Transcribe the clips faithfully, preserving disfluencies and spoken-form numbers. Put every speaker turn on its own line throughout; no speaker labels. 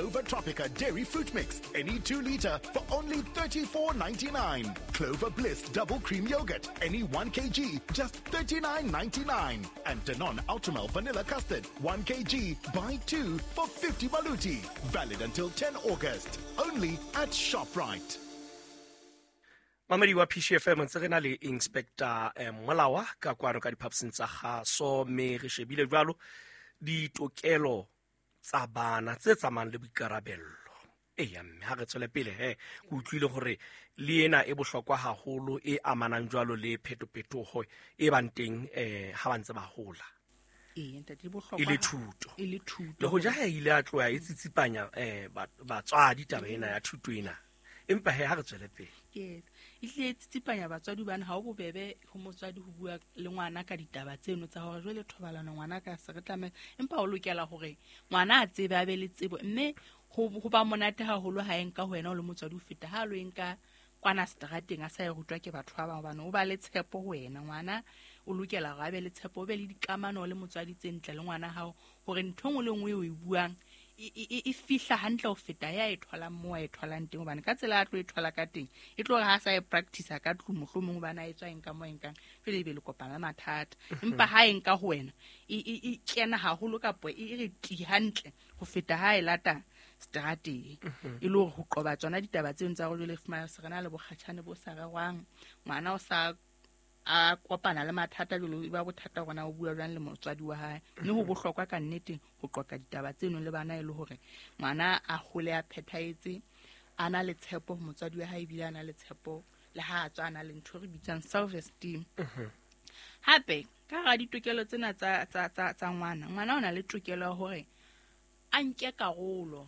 Clover Tropica Dairy Fruit Mix, any two liter for only thirty-four ninety-nine. Clover Bliss Double Cream Yogurt, any one kilogram, just thirty-nine ninety-nine. And Danone Ultramel Vanilla Custard, one kilogram, buy two for fifty baluti. Valid until tenth August. Only at ShopRite.
Mamedi wa P C F M ntse re na le Inspector eh, Molawa ka kwano ka diphaposing tsa kgaso, mme re shebile jwalo ditokelo tsa bana tse tsamayang le boikarabello. Eya, mme ha re tswele pele he, ke utlwile hore le ena e bohlokwa haholo e amanang jwalo le phetophetoho e bang teng, eh, ha ba ntse ba hola.
Ee, ntate, e bohlokwa
E le
ha-
thuto.
E le thuto.
Le hoja ha e ile a tloha e tsitsipanya, eh, ba-, batswadi taba ena ya thuto ena. Empa he, ha re tswele pele.
Ke e hlile e tsitsipanya batswadi hobane ha ho bobebe ho motswadi ho bua le ngwana ka ditaba tseno tsa hore jwale thobalano ngwana ka se re tlameha, empa o lokela hore ngwana a tsebe, a be le tsebo, mme ho, ho ba monate haholo ha e nka ho wena o le motswadi ho feta ha lo e nka kwana seterateng a sa e rutwa ke batho ba bang, hobane o ba le tshepo ho wena. Ngwana o lokela hore a be le tshepo, o be le dikamano le motswadi tse ntle le ngwana hao, hore ntho e nngwe le nngwe eo o e buang e, e, e, e fihla hantle ho feta ya e tholang moo a e tholang teng, hobane ka tsela a tlo e thola ka teng e tlo re ha sa e practice-a ka tlung mohlomong hobane a e tswa eng ka moo e nkang, jwale ebe le kopana le mathata. Empa ha e nka ho wena e, e, e kena haholo kapo e re ti hantle ho feta ha e lata seterateng. E le hore ho qoba tsona ditaba tseno tsa hore jwale fumana se re na le bokgatjhane bo sa rerwang, ngwana o sa a kopana le mathata, jwale e ba bothata hore na o bua jwang le motswadi wa hae. Mme ho bohlokwa ka nnete ho qoqa ditaba tseno le bana, e le hore ngwana a hole a phethahetse, a na le tshepo ho motswadi wa hae, ebile a na le tshepo le ha a tswa a na le ntho e re bitsang self esteem. Hape ka hara ditokelo tsena tsa, tsa, tsa, tsa ngwana, ngwana o na le tokelo ya hore a nke karolo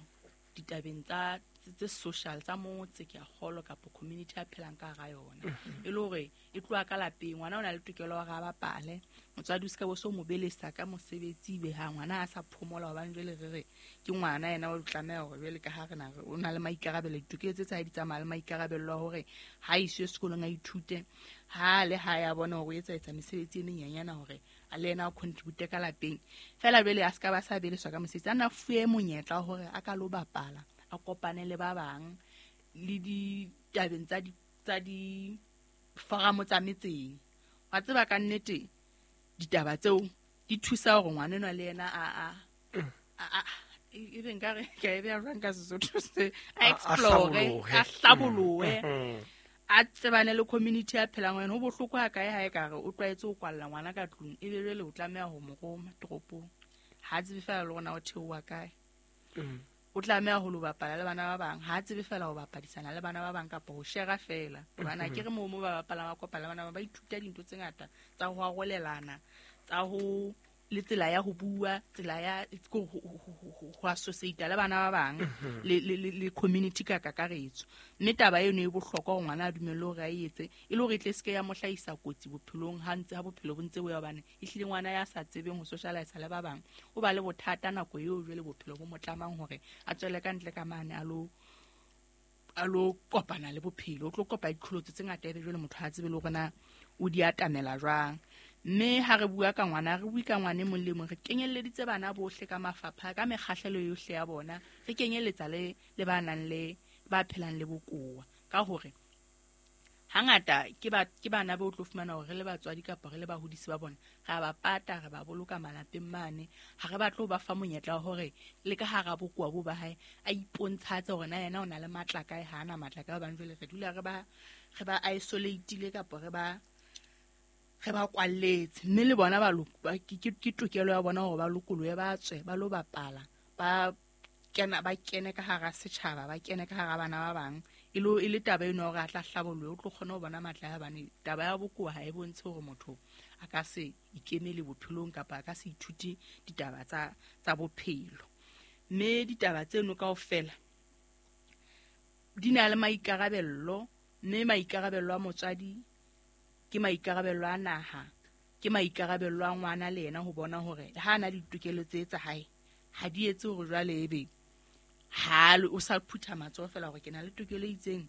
ditabeng tsa tse social tsa motse, ke a kgolwa, kapa community a phelang ka hara yona.
Mhm.
E le hore e tloha ka lapeng, ngwana o na le tokelo ya hore a bapale, motswadi o se ka bo so mo belesa ka mosebetsi, ebe ha ngwana a sa phomola, hobane jwale re re ke ngwana yena o tlameha hore jwale ka ha re na re o na le maikarabelo, ditokelo tse tsa hae di tsamaya le maikarabelo a hore ha iswe sekolong a ithute, ha le ha ya bona hore o etsa etsa mesebetsi e menyenyana hore a le yena a contribute ka lapeng. Feela jwale a se ka ba sa beleswa ka mosebetsi, a nna fuwe monyetla wa hore a ka lo bapala, a kopane le ba bang le ditabeng tsa di, tsa di foramo tsa metseng. Wa tseba ka nnete ditaba tseo di thusa hore ngwana enwa le yena a, a, a, a, e be nkare ke a e beha jwang ka Sesotho se, a
A, a
explore,
hlabolohe.
a hlabolohe.
Mm.
A tsebane le community ya phelang ho yena. Ho bohloko ha kae ha e ka re o tlwaetse ho kwalla ngwana ka tlung, ebe jwale o tlameha ho mo roma toropong, ha a tsebe feela le hore na o theoha kae.
Mm.
O tlameha ho lo bapala le bana ba bang, ha a tsebe feela ho bapadisana le bana ba bang kapa ho share feela. Hobane
Mm-hmm.
akere moo mo ba bapalang ba kopana le bana ba, ba ithuta dintho tse ngata tsa ho arolelana, tsa ho le tsela ya ho bua, tsela ya ko ho, ho, ho, ho, ho, ho associate le bana ba bang,
Mm-hmm.
le, le, le, le community ka kakaretso. Mme taba eno e bohlokwa hore ngwana a dumelle hore a e etse, e le hore e tle se ke ya mo hlahisa kotsi bophelong ha ntse, ha bophelo bo ntse bo ya, hobane ehlile ngwana ya sa tsebeng ho socialize le ba bang o ba le bothata nako eo jwale bophelo bo mo tlamang hore a tswele ka ntle ka mane a lo, a lo kopana le bophelo, o tlo kopa diqholotso tse ngata, ebe jwale motho ha tsebe le hore na o di atamela jwang. Mme ha re bua ka ngwana, re bue ka ngwana e mong le mong, re kenyelleditse bana bohle ka mafapha, ka mekgahlelo yohle ya bona, re kenyelletsa le, le ba nang le, ba phelang le bokowa. Ka hore hangata ke ba, ke bana ba o tlo fumana hore re le batswadi kapa re le bahodisi ba bona, re a ba pata, re ba boloka malapeng mane, ha re batle ho ba fa monyetla wa hore le ka hara bokowa bo ba hae a ipontshatse hore na yena o na le matla kae, ha ana matla kae, hobane jwale re dula re ba, re ba isolate-ile kapa re ba, re ba kwalletse. Mme le bona ba lo-, ba, ke, ke, ke tokelo ya bona hore ba lokolohe, ba tswe, ba lo bapala, ba kena, ba kene ka hara setjhaba, ba kene ka hara bana ba bang. E lo, e le taba eno ya hore a tla hlabolohe, o tlo kgona ho bona matla a bane. Taba ya bokowa ha e bontshe hore motho a ka se ikemele bophelong kapa a ka se ithute ditaba tsa, tsa bophelo. Mme ditaba tseno kaofela di na le maikarabello, mme maikarabello a motswadi ke maikarabello a naha, ke maikarabello a ngwana le yena ho bona hore ha a na le ditokelo tse tsa hae, ha di etse hore jwale ebe ha le, o sa phutha matsoho feela hore ke na le tokelo e itseng,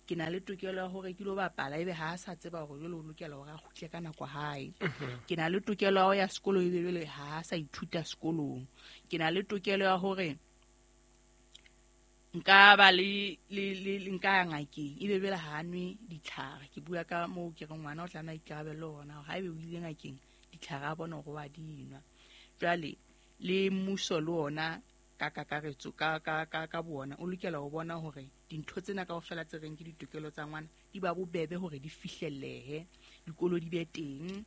ke na le tokelo ya hore ke lo bapala, ebe ha a sa tseba hore jwale o lokela hore a kgutle ka nako hae.
Mhm.
Ke na le tokelo ya ho ya sekolo, ebe jwale ha a sa ithuta sekolong. Ke na le tokelo ya hore Nka ba le le le nka ya ngakeng ebe bela ha nwe ditlhare. Ke bua ka moo ke re ngwana o tlameha ikarabelle hona hore haebe o ile ngakeng ditlhare a bona hore wa dinwa. Jwale le mmuso le ona ka kakaretso ka ka ka ka bona o lokela ho bona hore dintho tsena kaofela tse reng ke ditokelo tsa ngwana di ba bobebe hore di fihlellehe, dikolo di be teng,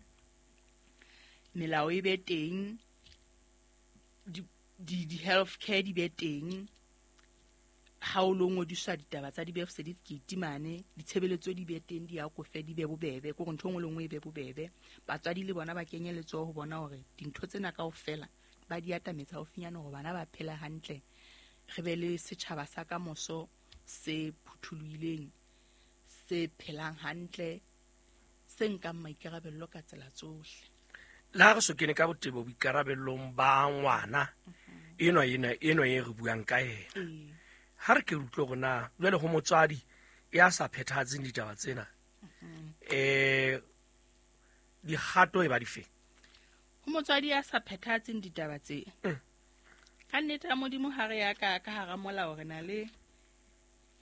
melao e be teng, di di di health care di be teng. Ha o lo ngodiswa ditaba tsa di-birth certificate mane, ditshebeletso di be teng, di akofe, di be bobebe, ke hore ntho e nngwe le nngwe e be bobebe. Batswadi le bona ba kenye letsoho ho bona hore dintho tsena kaofela ba di atametsa haufinyane hore bana ba phela hantle, re be le setjhaba sa kamoso se phuthulohileng, se phelang hantle, se nkang maikarabello ka tsela tsohle.
Le ha re so kene ka botebo boikarabellong ba ngwana enwa ena enwa e re buang ka yena, ha re ke re utlwe hore na jwale ho motswadi ya sa phethahatseng ditaba tsena, eh dikgato e ba dife?
Ho motswadi ya sa phethahatseng ditaba tse, ka nnete ya Modimo ha re ya ka ka hara molao re na le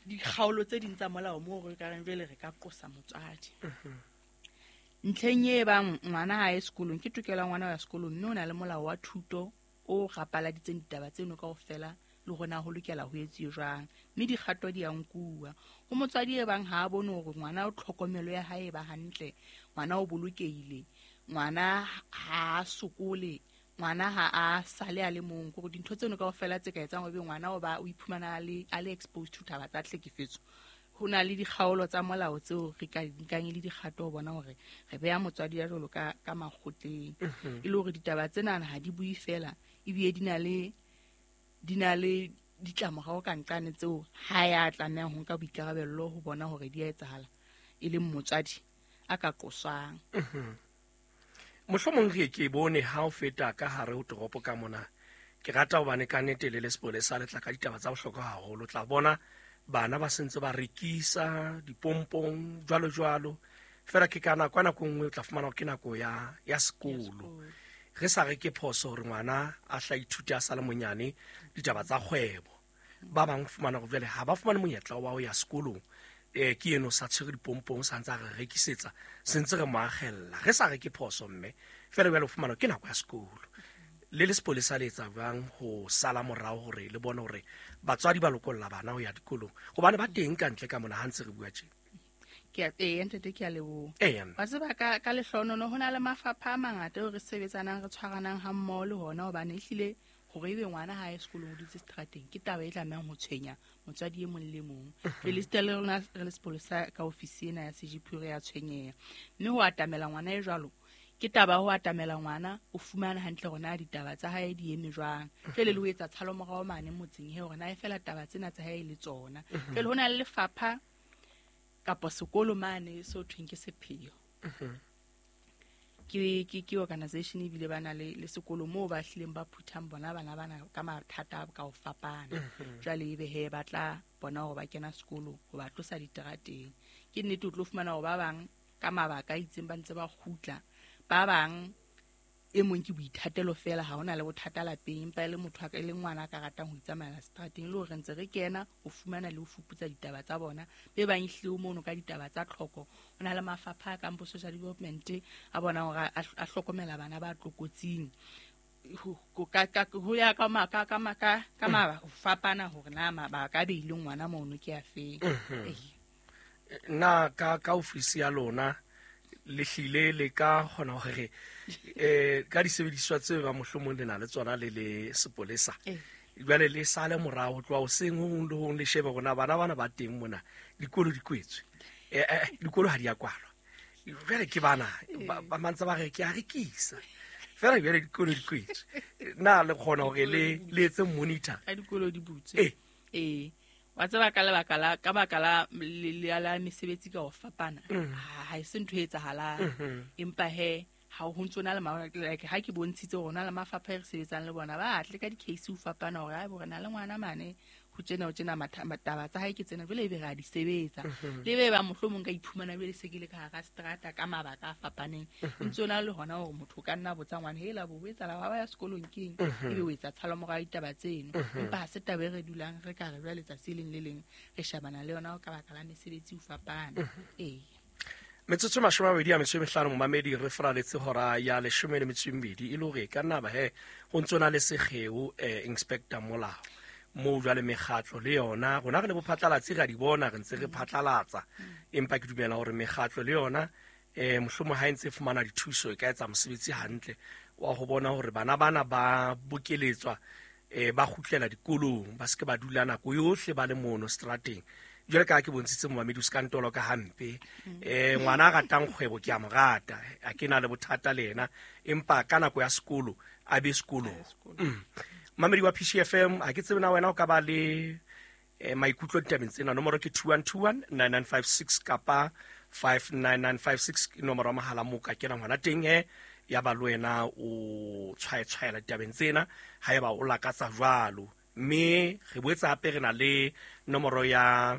dikgaolo tse ding tsa molao moo re ka reng jwale re ka qosa motswadi. Ntlheng e bang ngwana ha ye sekolong, ke tokelo ya ngwana ho ya sekolong, mme o na le molao wa thuto o rapaladitseng ditaba tseno kaofela le hore na ho lokela ho etsuwe jwang, mme dikgato di a nkuwa. Ho motswadi e bang ha a bone hore ngwana o tlhokomelo ya hae e ba hantle, ngwana o bolokehile, ngwana ha a sokole, ngwana ha a sale a le mong, hore dintho tseno kaofela tse ka etsang hore ngwana o ba o iphumana a le a le exposed to taba tsa tlhekefetso, ho na le dikgaolo tsa molao tseo re ka nkang le dikgato ho bona hore re beha motswadi ya jwalo ka ka makgotleng, e le hore ditaba tsena ha di bue fela, ebile di na le di na le ditlamorao ka nqane tseo ha ya tlamehang ho nka boikarabello ho bona hore di a etsahala, e leng motswadi a ka qoswang.
Mohlomong re ke bone ha o feta ka hare ho toropo ka mona, ke rata hobane ka nnete le le sepolesa le tla ka ditaba tsa bohlokwa haholo. Tla bona bana ba sentse ba rekisa dipompong jwalo jwalo, fela ke ka nako nako nngwe o tla fumana ke nako ya ya sekolo. Re sa re ke phoso hore ngwana a hla ithute a sa le monyane ditaba tsa kgwebo. Ba bang fumana hore jwale ha ba fumane monyetla wa ho ya sekolong, eh ke eno sa tshwere dipompong sa ntse a re rekisetsa, se ntse re mo akgella. Re sa re ke phoso mme fela jwale o fumana ke nako ya sekolo. Le le sepolesa le etsa jwang ho sala morao hore le bone hore batswadi ba lokolla bana ho ya dikolong, hobane ba teng ka ntle ka mona ha ntse re bua tje?
Ke a ee ntate, ke a leboha.
Ee.
Wa tseba ka ka lehlohonono ho na le mafapha a mangata eo re sebetsanang re tshwaranang ha mmoho le hona, hobane ehlile hore ebe ngwana ha ye sekolong o dutse seterateng ke taba e tlamehang ho tshwenya motswadi e mong le mong. Re le sita le rona re le sepolesa ka ofisi ena ya C G P re ya tshwenyeha, mme ho atamela ngwana e jwalo ke taba ho atamela ngwana o fumana hantle hore na ditaba tsa hae di eme jwang. Jwale le ho etsa tshalomorao mane motseng he hore na e fela taba tsena tsa hae le tsona. Jwale ho na le lefapha kapa sekolo mane so thweng ke Sepheo. Ke ke ke organization ebile ba na le le sekolo moo ba hlileng ba phuthang bona bana bana ka mathata ka ho fapana. Jwale ebe he ba tla bona hore ba kena sekolo ho ba tlosa diterateng. Ke nnete o tlo fumana hore ba bang ka mabaka a itseng ba ntse ba kgutla, ba bang e mong ke boithatelo fela, ha hona le bothata lapeng, empa e le motho a ka e le ngwana a ka ratang ho itsamaela seterateng, le hore re ntse re kena ho fumana le ho fuputsa ditaba tsa bona. Be bang ehlile o mono ka ditaba tsa tlhoko, ho na le mafapha a kang bo social development a bona hore a, a hlokomela bana ba tlokotsing. Ho ka ka ho ya ka ma ka ka ma ka ka ma ho fapana hore na mabaka a beileng ngwana mono ke a feng.
Na ka ka ofisi ya lona le hlile le ka kgona hore eh ka disebediswa tse ba mohlomong le na le tsona le le sepolesa, jwale le sale morao ho tloha hoseng ho hong le hong le shebe hore na bana bana ba teng mona dikolo di kwetswe, eh dikolo ha di a kwalwa, jwale ke bana ba mantse ba re ke a rekisa fela jwale dikolo di kwetswe. Na le kgona hore le le etse monitor
ka dikolo di butswe? Eh wa tseba ka lebaka la ka baka la le la mesebetsi ka ho fapana, ha e se ntho e etsahalang, empa he ha ho ntso na le like ha ke bontshitse hore na le mafapha e re sebetsang le bona ba atle ka di-case ho fapana hore ha bo re na le ngwana mane ho tjena ho tjena mataba tsa hae ke tsena jwale ebe re a di sebetsa le be ba mohlomong ka iphumana jwale se ke le ka hara strata ka mabaka a fapaneng ntse ona le hona hore motho ka nna botsa ngwana hela bo etsa la ba ya sekolong keng ebe o etsa tshalo mora ditaba tseno empa ha se taba e re dulang re ka re jwale letsatsi leng le leng re shabana le yona ka baka la mesebetsi o fapana. Ee,
metsotso mashome a mabedi a metso e mehlano momamedi re fraletse hora ya leshome le metso e mmedi e le hore ka nna ba he ho ntso na le sekgeo eh, Inspector Molao moo jwale mekgatlo le yona rona re le bophatlalatsi ra di bona re ntse re phatlalatsa empa ke dumela hore mekgatlo le yona eh mohlomong ha e ntse e fumana dithuso e ka etsa mosebetsi hantle wa ho bona hore bana bana ba bokeletswa eh ba kgutlela dikolong ba se ke ba dula nako yohle ba le mono strateng. Jwale ka ke bontshitse momamedi o se ka ntolo ka hampe eh ngwana a ratang kgwebo ke a mo rata a ke na le bothata le yena empa ka nako ya sekolo a be sekolong. Mamedi wa P C F M a ke tsebe na wena o ka ba le eh, maikutlo ditabeng tsena. Nomoro ke two one two one nine nine five six kapa five nine nine five six ke nomoro ya mohala moo ka kenang hona teng he ya ba le wena o tshwaetshwaela ditabeng tsena haeba o lakatsa jwalo. Mme re boetse hape re na le nomoro ya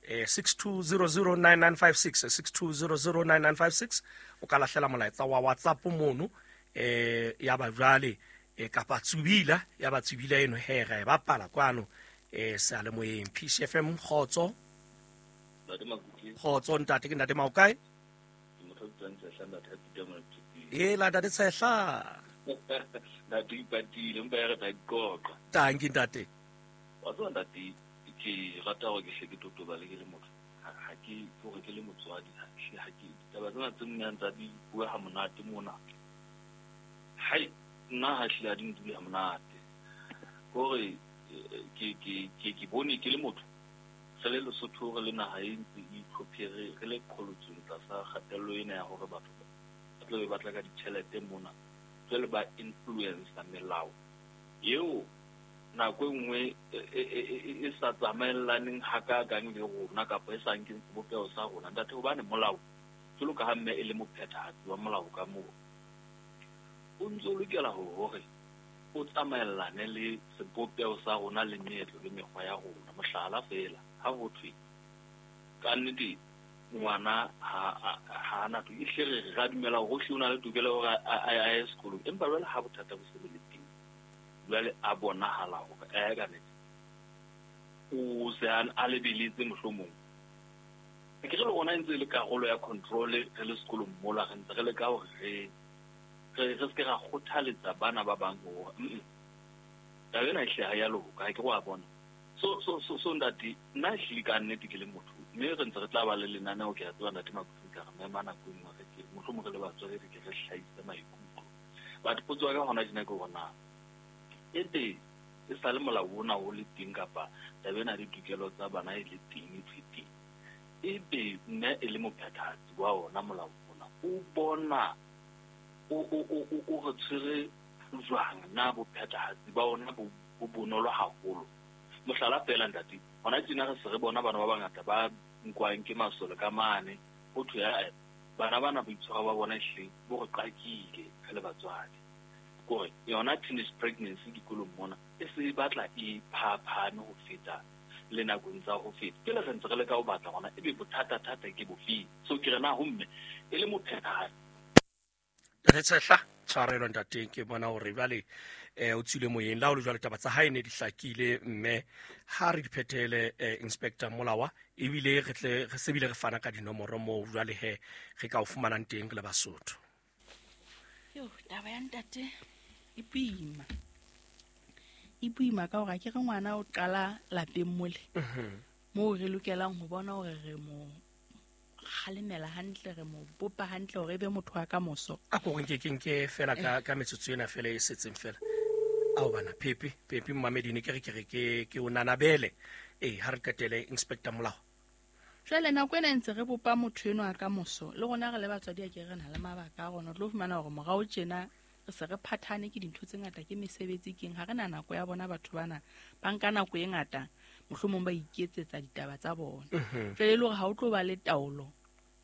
eh, six two zero zero nine nine five six six two zero zero nine nine five six o ka lahlela molaetsa wa WhatsApp mono eh ya ba jwale eh, kapa tsubila ya ba tsubila eno he ra e bapala kwano eh seyalemoyeng. P C F M kgotso.
Ntate Makutle.
Kgotso ntate, ke ntate Maokae?
Ke motho a bitswang Tshehla, ntate a Peter Molatswi.
E la ntate Tshehla.
Ntate ipatile empa ya re tla iqoqa.
Tanki ntate.
Wa tseba ntate, ke rata hore ke hle ke totobale ke le motho. Ha ke hore ke le motswadi, ha ke ha ke ditaba tsena tse nnang tsa di bua ha monate mona. Hai, nna ha hle ha di ntule ha monate. Hore ke ke ke ke bone ke le motho. Re le Lesotho re le naha e ntse e itlhophere re le qholotsong tlasa kgatello ena ya hore batho ba tla be ba tla ka ditjhelete mona. Jwale ba influencer melao eo nako e nngwe e sa tsamaellaneng hakakang le rona kapa e sa nkeng sebopeho sa rona ntate, hobane molao jwalo ka ha mme e le mophethahatsi wa molao ka moo o ntso o lokela hore o tsamaellane le sebopeho sa rona le meetlo le mekgwa ya rona. Mohlala feela ha ho thwe ka nnete ngwana ha ha na to ehle re ra dumela hore o na le tokelo hore a ye sekolong, empa jwale ha bothata bo se bo le teng jwale a bonahala hore eh ka nnete o se a lebeletse mohlomong ke re le rona e ntse e le karolo ya control re le sekolong mola re ntse re leka hore re re re se ke ra kgothaletsa bana ba bang hore taba ena ehle ha ya loka, ha ke go a bona. So so so so ntate nna ehlile ka nnete ke le motho mme re ntse re tla ba le lenaneo ke a tseba ntate Makutle ka re mema nako e nngwe re ke mohlomong re le batswadi re ke re hlahise maikutlo. But potso ya ka hona tjena ke hore na ebe e sa le molao ona o le teng kapa taba ena ya ditokelo tsa bana e le teng e thwe teng, ebe mme e le mophethahatsi wa ona molao ona o bona o o o o re tshwere jwang na bophethahatsi ba ona bo bonolo haholo? Mohlala feela ntate, hona tjena re se re bona bana ba bangata ba nkwang ke masole ka mane ho thwe bana bana boitshwaro ba bona ehlile bo re qakile re le batswadi. Kore yona teenage pregnancy dikolong mona e se batla e phaphame ho feta le nakong tsa ho feta. Pele re ntse re leka ho batla hona ebe bothata-thata ke bofeng. So ke re na ho mme e le mophethahatsi.
Re Tshehla tshwarelo ntate, ke bona hore jwale eh o tswile moyeng la ho le jwale taba tsa hae ne di hlakile mme ha re di phethele eh, Inspector Molawa ebile re tle re sebile re fana ka dinomoro moo jwale he re ka o fumanang teng re le Basotho.
Yo taba ya ntate e boima, e boima ka hore ke re ngwana o qala lapeng mole moo re lokelang ho bona hore re mo kgalemela hantle, re mo bopa hantle hore e be motho wa ka moso.
A ko nke ke nke fela ka ka metsotso ena fela e setseng fela. Ao bana Pepe, Pepe Mamedi ne ke re ke re ke ke o nanabele. Eh ha re qetele Inspector Molao.
Jwale nako ena ntse re bopa motho eno a ka moso le rona re le batswadi a ke re na le mabaka a rona. O tlo fumana hore morao tjena re se re phathane ke dintho tse ngata, ke mesebetsi keng, ha re na nako ya bona batho bana ba nka nako e ngata mohlomong ba iketsetsa ditaba tsa bona. Jwale e le hore ha o tlo ba le taolo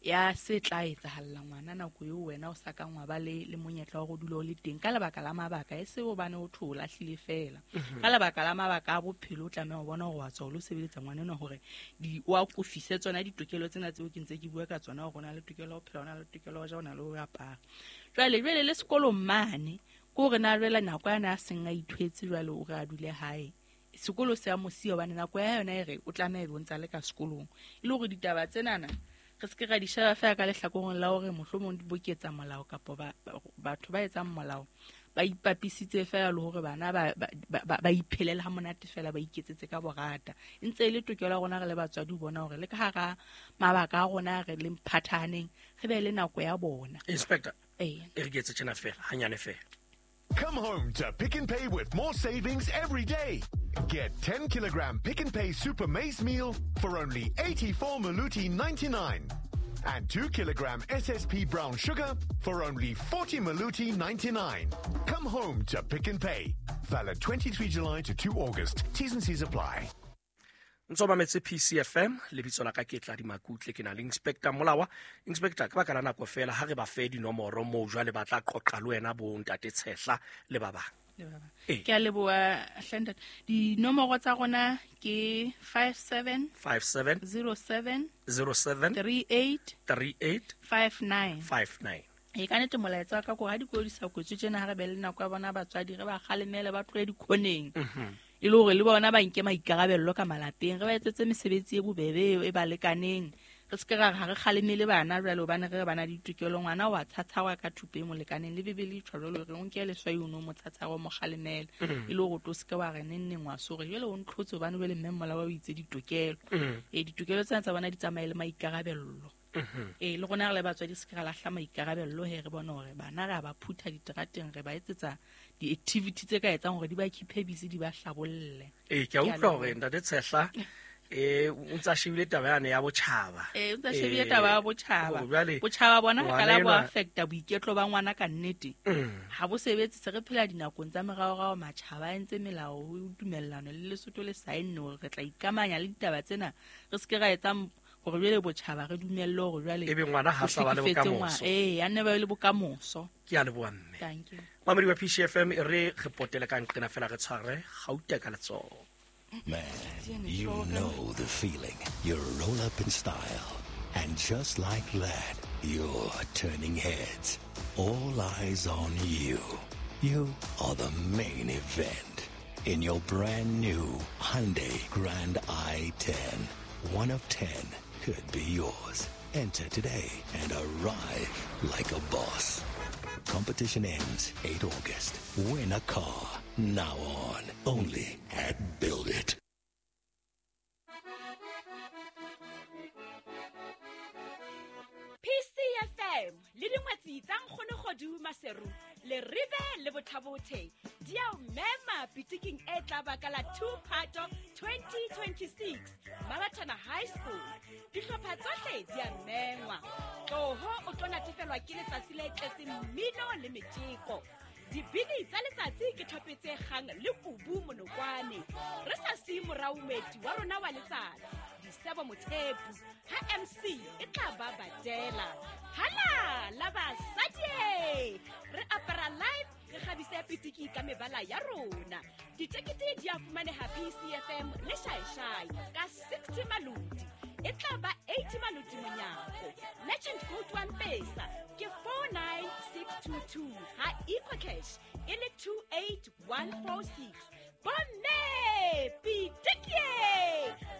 ya se tla etsahalla ngwana nako eo wena o sa kang wa ba le le monyetla wa go dula o le teng ka lebaka la mabaka e se hobane o tho o lahlile fela. Ka lebaka la mabaka a bophelo o tlameha ho bona hore wa tswa o lo sebeletsa ngwana enwa hore di o a kofise tsona ditokelo tsena tseo ke ntse ke bua ka tsona hore o na le tokelo ya ho phela, o na le tokelo ya ho ja, o na le ho apara. Jwale jwale le sekolong mane ke hore na jwale nako yana a seng a ithwetse jwale o re a dule hae. Sekolo se a mo siya hobane nako ya yona e re o tlameha ebe o ntsa le ka sekolong. E le hore ditaba tsenana re se ke ra di sheba feela ka lehlakoreng la hore mohlomong di boketsa molao kapa ba, batho ba etsang molao ba ipapisitse feela le hore bana ba ba, ba iphelele ha monate feela ba iketsetse ka borata. E ntse e le tokelo ya rona re le batswadi ho bona hore le ka hara mabaka a rona re le mphathaneng re be le nako ya bona.
Inspector,
ee,
e re ke etse tjena feela hanyane feela.
Come home to Pick n Pay with more savings every day. Get ten kilogram Pick n Pay Super Maize Meal for only eighty-four Maluti ninety-nine. And two kilogram S S P brown sugar for only forty Maluti ninety-nine. Come home to Pick n Pay. Valid twenty-three July to two August. T's and C's apply.
Ntso mametse P C F M, lebitso la ka ke Tladi Makutle, ke na le Inspector Molawa. Inspector, ka baka la nako fela ha re ba fe dinomoro moo jwale ba tla qoqa le wena bo ntate Tshehla le ba bang.
Le ba bang. Ke a leboha hle ntate. Dinomoro tsa rona ke five seven
five seven
zero seven
zero seven
three eight
three eight
five nine
five nine.
E ka nnete molaetsa wa ka ko ha dikolo di sa kwetswe tjena ha re be le nako ya bona batswadi re ba kgalemele ba tlohe dikhoneng. E le hore le bona ba nke maikarabello ka malapeng, re ba etsetse mesebetsi e bobebe e ba lekaneng. Re se ke ra re ha re kgalemele bana jwale hobane re bana ditokelo, ngwana wa tshatshawa ka thupe e mo lekaneng le Bibele e tjho jwalo hore o nke leswai o no mo tshatshawa o mo kgalemele. E le hore o tlo se ke wa re neng neng wa sore jwale o ntlhotse hobane jwale mme molao o itse ditokelo. E ditokelo tsena tsa bona di tsamaye le maikarabello. E le rona re le batswadi se ke ra lahla maikarabello he re bone hore bana re a ba phutha diterateng re ba etsetsa di-activity tse ka etsang hore di ba keep-e busy di ba hlabolle.
Ee, ke a utlwa hore ntate Tshehla eh o ntsa shebile taba yane ya botjhaba.
Ee, o ntsa shebile taba ya botjhaba. Botjhaba bona ka la bo affecta boiketlo ba ngwana ka nnete. Ha bo sebetse se re phela dinakong tsa meraorao matjhaba a entse melao ho dumellano le Lesotho le saenne hore re tla ikamanya le ditaba tsena re se ke ra etsa hore jwale botjhaba re dumelle hore jwale
ebe ngwana ha sa ba le bokamoso.
Ee, a nne ba le bokamoso.
Ke a leboha mme.
Thank you.
Mamedi wa P C F M e re re potele ka nqena fela re tshware gauta ka letsoho.
Man, you know the feeling. You roll up in style. And just like that, you're turning heads. All eyes on you. You are the main event. In your brand new Hyundai Grand i ten. One of ten could be yours. Enter today and arrive like a boss. Competition ends eighth August. Win a car. Now on. Only at Build It.
P C F M le dingwetsi tsa nkgono Kgodu Maseru le Rive le Bothabothe di a o mema pitiking e tla ba ka la two Phato twenty twenty-six Mabatana High School. Dihlopha tsohle di a mengwa. Tloho o tlo natefelwa ke letsatsi le tletseng mmino le metjeko. Dibini tsa letsatsi ke thopetse kgang le kubu monokwane. Re sa siye morao moeti wa rona wa letsatsi Disebo Mothepu ha M C e tla ba badela. Hala la basadi re apara live re kgabise pitiki ka mebala ya rona. Ditekete di a fumaneha P C F M le Shaishai ka sixty maloti. E tla ba eighty maloti monyako. Legend code one pesa ke four nine six two two ha EcoCash e le two eight one four six. Bomme pitiki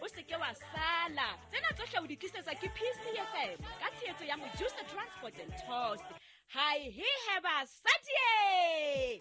o se ke wa sala. Tsena tsohle o di tlisetswa ke P C F M ka tshehetso ya Mojusa Transport and Tours. Hi he he basadi.